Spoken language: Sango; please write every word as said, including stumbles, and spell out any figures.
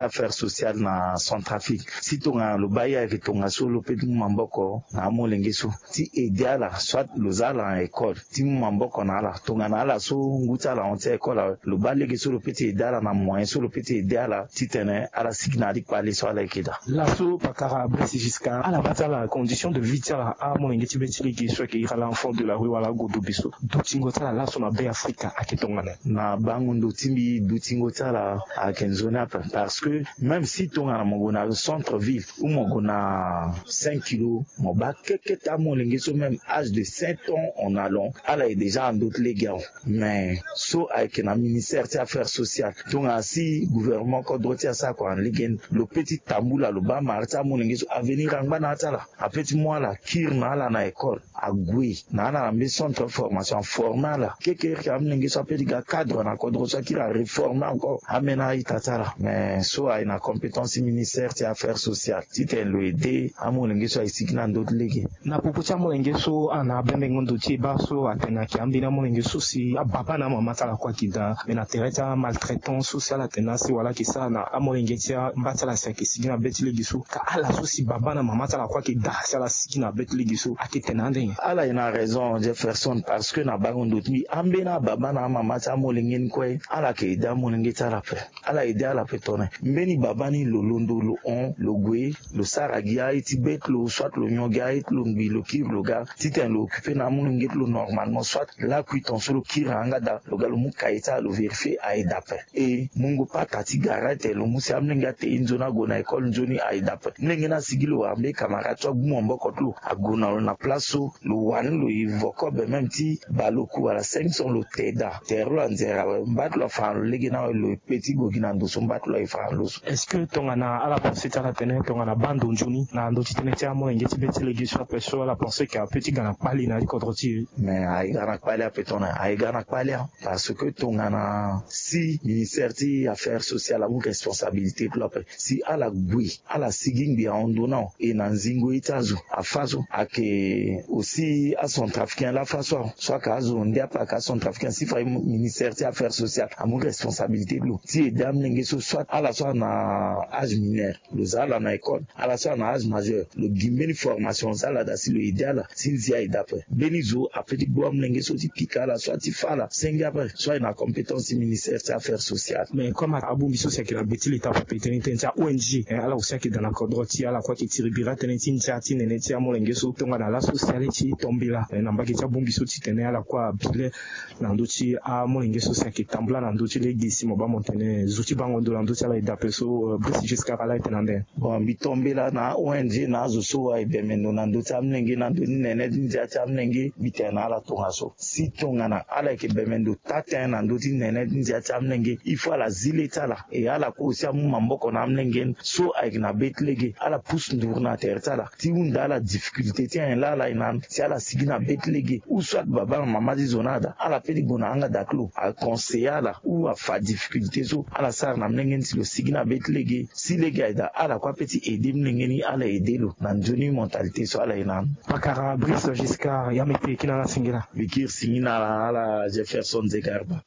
affaire sociale na Centrafrique. Si tongana lo baa ye ayeke tongaso, lo peut ti mu maboko na amolenge so ti aider ala, soit lo za ala na école ti mu maboko na ala. Tongana ala so ngu ti ala ahon ti école awe, lo baa lege so lo peut ti aider ala na moyen so lo peut ti aider ala titene ala sigi na ya ti kpale so ala yeke daa. Laso pakara Brice Giscard, ala baa ti ala condition de vie ti ala, amolenge ti be ti lege so ayeke iri ala enfant de la rue wala agodobe so, dutingo ti ala laso na Be Afrika ayeke tongana nyen? Na bango ndo ti mbi, dutingo ti ala ayeke nzoni ape, parce que même si tongana mo gue na centre ville ou mo gue na cinq kilos, mo baa kekete amolenge so, même âge de sept ans en allant, ala ye déjà na ndö ti lege awe. Mais so ayeke na ministère ti affaire sociale, tongana si gouvernement kodro ti e asara kua na lege ni, lo peut ti tambula, lo baa mara ti amolenge so, avenir angba na ya ti ala. Ape ti mu ala, kiri na ala na école, ague na ala na mbeni centre de formation, aforme ala. Kekereke amolenge so ape ti ga cadre na kodro so, akiri areforme encore, ambeni a-ita ti ala. Mais so aye na compétence ti ministère ti affaire sociale titene lo aider amolenge so aye sigi na ndö ti lege. Na popo ti amolenge so, ana abendengo ndo ti e baa so atene ayeke ambeni amolenge so si ababa na amama ti ala kue ayeke daa, mais na tere ti amaltraitance so si ala tene asi wala ayeke sara na amolenge ti amba ti ala si ayeke sigi na be ti lege so, ka ala so si baba na mama ti ala kue ayeke daa si ala sigi na be ti lege so, ayeke tene ande nyen? Ala ye na raison, Jefferson, parce que na bango ndo ti mbi, ambeni ababa na amama ti amolenge ni kue, ala yeke aider amolenge ti ala ape. Ala aider ala ape tongana nyen? Mbeni baba ni, lo londo, lo hon, lo gue, lo sara gi aye ti be ti lo, soit lo nyon gi aye ti lo ngbii, lo kiri lo ga titene lo occuper na amolenge ti lo normalement, soit lakui ton so lo kiri na yanga daa, lo ga lo mu kaye ti ala, lo vérifier, aye daa ape. E mungo pata ti gara tene lo mu si amolenge ate e nzoni ague na école nzoni, aye daa ape. Molenge ni asigi, lo wara mbeni camarade so agbu maboko ti lo, ague na lo na place so, lo wani lo e vo kobe même ti baleoku wala cinq cents, lo te daa. Tere lo anzere awe, mba ti lo afa na lo lege ni awe, lo e pe ti gue gi na ndo so mba ti lo aye fa na lo so. Est-ce que tongana ala pensé ti ala tene tongana baa ndo nzoni na ndö ti tënë ti amolenge ti be ti lege so ape so, ala pensé ke ape ti ga na kpali na ya ti kodro ti e? Mais aye ga na kpali ape tongana, aye ga na kpali a. Parce que tongana si ministère ti affaire sociale amu responsabilité ti lo ape, si ala gue, ala sigi ngbii ahon ndo na e na nzingo ye ti azo, afa so ayeke aussi acentrafricain laa, afa so aho, so ayeke azo ndia ape ayeke acentrafricain, si fa ministère ti affaire sociale amu responsabilité ti lo ti aider amolenge so, soit ala so ana âge mineur, lo za ala na école, ala so ana âge majeur, lo gi mbeni formation, za ala daa si lo aider ala si nzia aye daa ape. Mbeni zo ape ti gbu amolenge so ti pika ala, soit ti fâ ala senge ape, so aye na compétence ti ministère ti affaire sociale. Mais comme abongbi so si ayeke na gbe ti leta ape, tënë ti tënë ti a-O N G, eh, ala aussi ayeke daa na kodro ti e, ala kue ayeke tiri bira tënë ti ndia ti nene ti amolenge so, tongana laso si ale ti tombela, eh, na mbage ti abongbi so titene ala kue abi le na ndö ti amolenge so si ayeke tambula na ndö ti lege, si mo baa mo tene zo ti bango ndo na ndö ti ala e daa ape so, eh, Brice Giscard, ala e tene ande? Bon, mbi tombela na a-O N G na azo so aye bembe ndo na ndö ti amolenge, na ndö ti nene ti ndia ti amolenge, mbi tene na ala tongaso. Si tongana ala yeke bembe ndo taa tënë na ndö ti nene ti ndia ti amolenge, il faut ala zi le ti ala, e ala kue aussi amu maboko na amolenge ni so ayeke na be ti lege, ala pusu nduru na tere ti ala ti hunda ala difficulté ti nyen laa ala ye na ni si ala sigi na be ti lege, ou soit baba na mama ti zo ni ada, ala peut ti gue na yanga daa ti lo, aconseiller ala ou afa difficulté so ala sara na molenge ni si lo sigi na be ti lege. Si lege aye daa, ala kue apeut ti aider molenge ni, ala aider lo na nzoni mentalité so ala ye na ni. Pakara Brice Giscard, ya mbi kiri kiri na ala singila. Mbi kiri singila na ala Jefferson Zegarba.